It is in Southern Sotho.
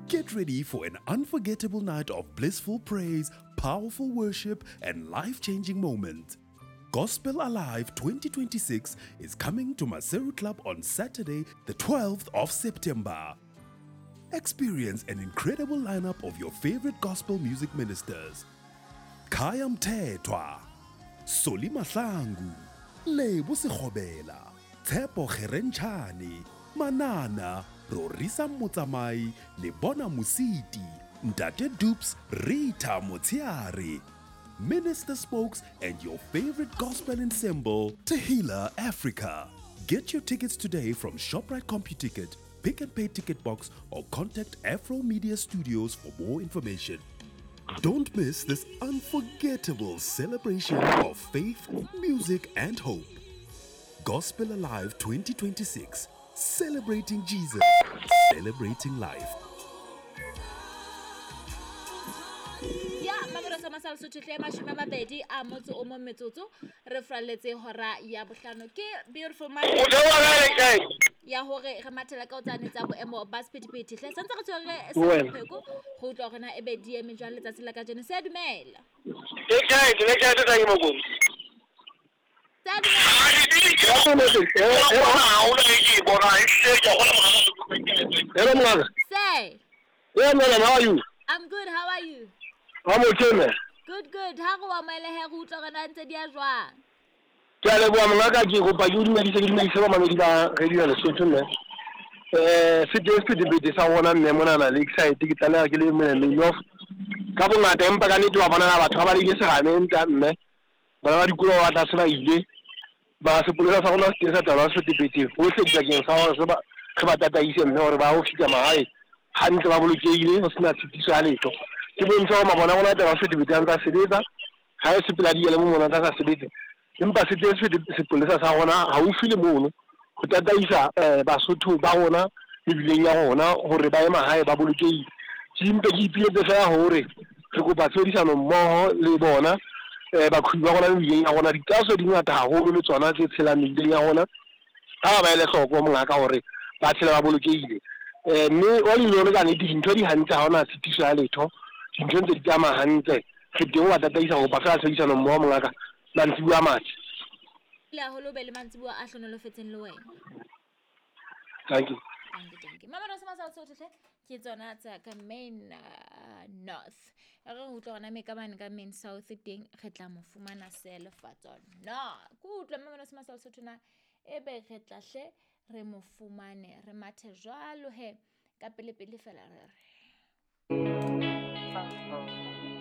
Get ready for an unforgettable night of blissful praise, powerful worship, and life changing moments. Gospel Alive 2026 is coming to Maseru Club on Saturday, the 12th of September. Experience an incredible lineup of your favorite gospel music ministers. Khaya Mthethwa, Solly Mahlangu, Lebo Sekgobela, Tshepo Kgerentshane, Manana, Rorisang Motsamai, Lebona Mositi, Ntate Dupes, Rita Motshehare, Minister Spokes, and your favorite gospel ensemble, Tehillah Africa. Get your tickets today from ShopRite CompuTicket, Pick n Pay Ticket Box, or contact Afro Media Studios for more information. Don't miss this unforgettable celebration of faith, music, and hope. Gospel Alive 2026, celebrating Jesus, celebrating life. Ya mamelo sa masala Sotho hle 20 a motso o mong metsotso re fralletse hora ya bohlano ke beautiful Monday ya hore re mathela ka o tsane tsa boemo ba sephethephethe hle santse re tshwere sepheko go utlwa hore na ebe di eme jwang letsatsi la kajeno. Se dumela. Se dumela. Hello, Mngaka. Say. Yeah, man, how are you? I'm good, how are you? I'm okay, man. Good, good. Ha go wa maele he go utlwa hore na ntse di a jwang. Ke a leboha mongaka, ke kopa ke o dumedise, ke dumedise bamamedi ba Radio Lesotho mme. Se teng sephethephethe sa rona mme monana Lakeside, ke tlaleha ke le mene off ka bongata, empa ka nnete wa bona batho ba balehile serame nta mme. Bana ba dikolo ba tlase ba ile. Ba sepolesa sa rona se teng sa taolo ya sephethephethe hohle dibakeng sa hore re ba tataise mme hore ba ho fihla mahae hantle ba bolokehile ho sena tshitiso ya letho. Ke bontsha hore mabone a rona a taolo ya sephethephethe a ntse a sebetsa, ha e sepela di ele mo mona a sa sebetse. Empa se teng sepolesa sa rona haufi le mono ho tataisa Basotho ba rona mebileng ya rona hore ba ye mahae ba bolokehile. Ke mpe ke ipiletse fela hore re kopa tshebedisano mmoho le bona baqhobi ba rona mebileng ya rona. Ditaaso di ngata haholo le tsona tse tshelang mebileng ya rona. Ha ba ele hloko mongaka hore ba tshela ba bolokehile. Mme wa le ka nnete dintho di hantle, ha hona tshitiso ya letho. Dintho ntse di tsamaya hantle. Re teng ho ba tataisa ho kopa fela tshebedisano mmoho mongaka. Mantsibuya a matle. Le haholo be le mantsibuya a hlonolofetseng le wena. Thank you. Thank you, thank you. Mama Rosa Masala Sotho hle ke tsona tsa ka main north. Re utlwa hona me ka mane ka main south teng re tla mo fumana selefatso. No, ke utlwa Mama Rosa Masala Sotho na ebe re tla hle re mo fumane re mathe jwalo he ka pele pele fela re re.